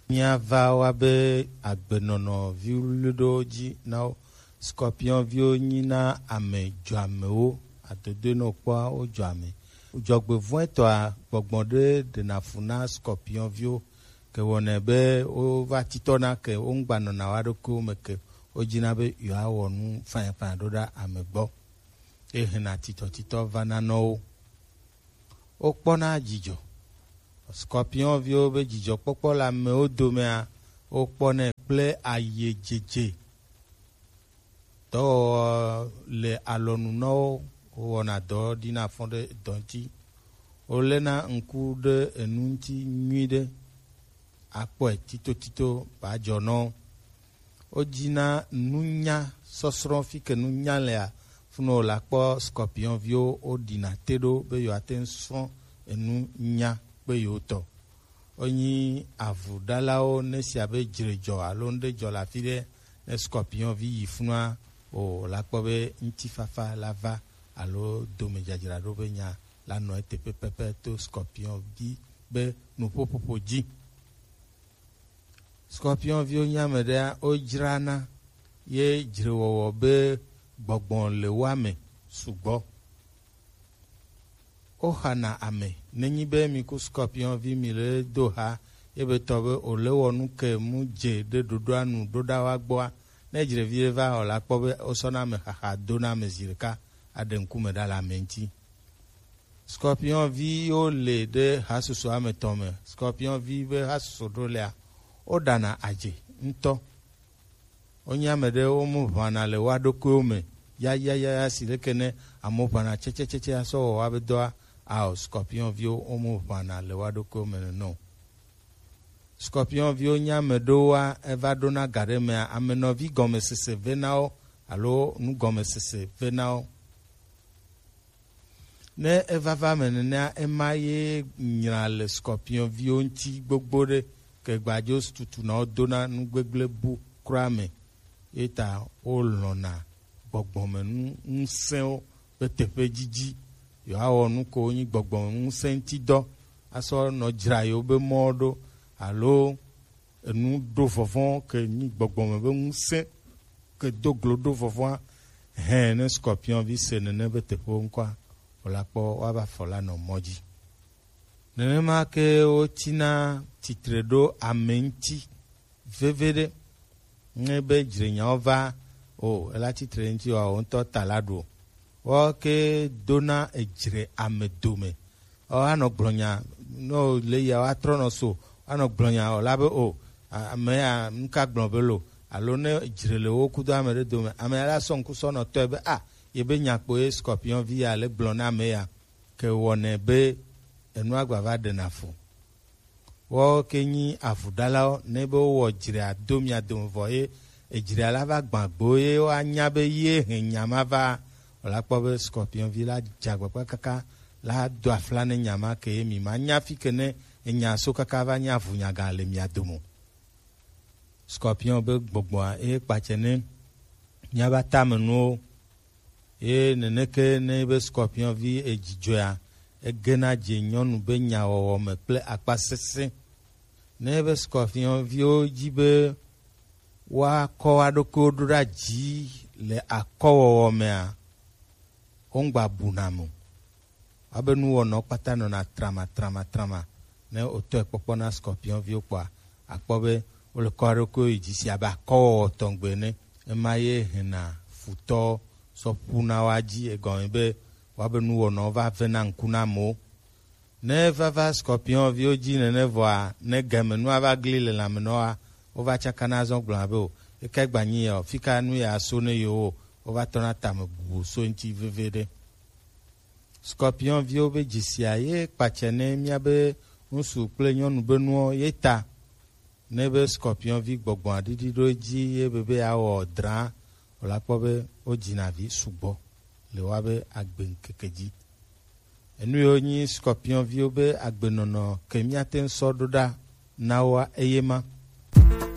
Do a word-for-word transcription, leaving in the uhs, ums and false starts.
Míava wa be agbenɔnɔ viwluiɖewo dzi na wo. Scorpion viwo nyi na ame dzɔamewo, adodoe ne wokpɔa, wodzɔa ame. Dzɔgbevɔ̃etɔa, gbɔgbɔ ɖe ɖena fu na scorpion viwo, ke wɔnɛ be wova titɔna ke, womgbanɔna wa ɖokuiwo me ke, wodina be yewoawɔ nu fanyafanya ɖo ɖa ame gbɔ. Ehena titɔtitɔ vana nɔ wo. Wokpɔna dzidzɔ. Scorpion viwo be dzidzɔkpɔkpɔ le amewo domea, wokpɔnɛ kple ayidzedze. Dɔwɔwɔ le alɔnu na wo, wowɔna dɔ ɖi na fɔ ɖe dɔ ŋuti. Wolena ŋku ɖe enu ŋuti nyuiɖe. Akpɔe titotito ba dzɔ nɔ wo. Wodina nunya sɔsrɔ̃, fi ke nunya lea, funu wòle akpɔ scorpion viwo, woɖina te ɖo be yewoate ŋu srɔ̃ enu nya kpe yewo tɔ. Wonyi avuɖalawo, ne sia be dzre dzɔ alo ŋɖe dzɔ le afi ɖe, ne scorpion vi yi funua, o, wòle akpɔ be ŋutifafa la va alo domedzadzraɖo be nya la nɔ eteƒe pɛpɛ to scorpion vi be nuƒoƒoƒo dzi. Scorpion viwo nye ame ɖea, wodzrana ye dzrewɔwɔ be gbɔgbɔ le wo me sugbɔ. Woxana ame. Nenyi be mi ku scorpion vi mi le do ha, ye be tɔ be o le wɔ nu ke mu dze ɖe ɖoɖoa nu ɖo ɖa wa gbɔa, ne dzrevi ɖe va o la kpɔ be wosɔna ame xaxa dona ame zi ɖeka aɖe ŋkume ɖa le ame ŋuti. Scorpion viwo le ɖe hasusu ame tɔn me. Scorpion vi be hasusu ɖo lea, woɖana adze ŋutɔ. Wonye ame ɖe wo mu ʋãna le wa ɖokuiwo me. Ya, ya, ya, ya, si leke ne amewo ʋãna tsɛtsɛtsɛtsɛ asɔ wɔ wa be dɔa, ao, scorpion viwo wo mu ʋãna le wa ɖokuiwo me nene o. Scorpion viwo nye ame ɖewoa, eva ɖona ga ɖe mea, ame nɔvi gɔmesese vena wo alo nu gɔmesese vena wo. Ne evava me nenea, ema ye nyra le scorpion viwo ŋuti gbogbo ɖe, ke gbadzo tutu na wo dona nu gbegblẽ bu kura me. Ye ta wolɔ̃na gbɔgbɔmenu ŋusẽwo be teƒe didi. Yewoawɔ nu ko wonyi gbɔgbɔmenu ŋusẽ ŋuti dɔ asɔ nɔ dzra yewo be mɔwo ɖo, alo enu ɖo vɔvɔ̃ ke nyi gbɔgbɔme be ŋusẽ ke do glo ɖo vɔvɔ̃a, hɛn, ne scorpion vi se nene be teƒewo ŋkɔa, wòla kpɔ woava fɔ la nɔ mɔ dzi. Nenema ke wotina tsitre ɖo ame ŋuti veveɖe. Ne be dzrenyawo va o, ela tsitre ŋuti wa, wo ŋutɔ ta la ɖu o. Wo ke dona edzre ame dome. Ɔ, anɔ gblɔ nya, ne wòle yia, woatrɔ nɔ so, anɔ gblɔ nya, wòla be o, a-, ame ya, nu ka gblɔ be lo, alo ne dzre le wo kudo ame ɖe dome, ame ya la sɔ ŋku sɔ nɔ tɔe be, a, ye be nya kpo ye scorpion vi ya le gblɔ na ame ya, ke wɔnɛ be enua gba va ɖena fu. Woawo ke nyi avuɖalawo, ne be wowɔ dzrea do mia dome vɔ ye edzrea la va gbã gbewo ye woanya be ye hɛn nya ma va, wòla kpɔ be scorpion vi la dze agbagba kaka la do afla ne nya ma ke ye mi ma nya fi ke ne enya so kaka va nya avunyaga le mia dome o. Scorpion be gbɔgbɔa ye kpatsɛ ne miaba tame nuwo. Ye neneke ne be scorpion vi edzidzɔea, egena dze nyɔnu be nyawɔwɔ me kple akpa sesẽ. Ne be scorpion viwo dzi be woakɔ wa ɖokuiwo ɖo ɖa dzi le akɔwɔwɔ mea, wongba buna mo. Woabe nuwɔnawo kpata nɔna trama, trama, trama. Ne wotɔe kpɔkpɔ na scorpion viwo kpɔa, akpɔ be wole kɔ ɖokuiwo yi dzi si abe akɔwɔwɔ tɔgbe ene. Ema ye hena futɔ sɔ ƒuna wa dzi, egɔme be woabe nuwɔnawo va vena ŋku na amewo. Ne vava scorpion viwo dzi nene vɔa, ne game nua va gli le lãme nɔa, wova tsakana zɔ gblɔna be o, ekae gbanyi ya o, fika nu ya so ne yewo o, wova tɔna tame bubu so ŋuti veveɖe. Scorpion viwo be dzesia ye kpatsɛ ne mía be ŋutsu kple nyɔnu be nuwo ye ta. Ne be scorpion vi gbɔgbɔa ɖiɖi ɖo edzi ye be be yeawɔ drã, wòla kpɔ be wodzina vi sugbɔ le woabe agbe ŋkeke dzi. Enu yiwo nyi scorpion viwo be agbenɔnɔ ke míate ŋu sɔ ɖo ɖa na woa eye ma.